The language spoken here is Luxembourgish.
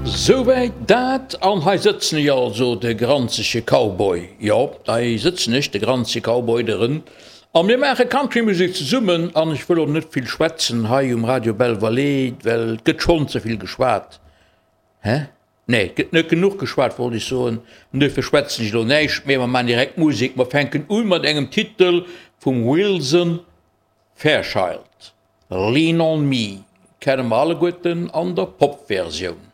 Souwäit dat, an hei sëtzen ech also, de granzege Cowboy, jo, hei sëtzen ech, de granzege Cowboy, de Rënd, a mir maache Countrymusek zesummen, an ech wëll och net vill schwätzen hei um Radio Belle Vallée, well et gëtt schonn ze vill geschwat, hä? Nee, et gëtt net genuch geschwat, wollt ech soen, an duerfir schwätzen ech elo näischt méi, mer maachen direkt Musek. Mer fänken u mat engem Titel vum Wilson Fairchild, Lean on Me, kenne mer alleguerten an der Pop-Versioun.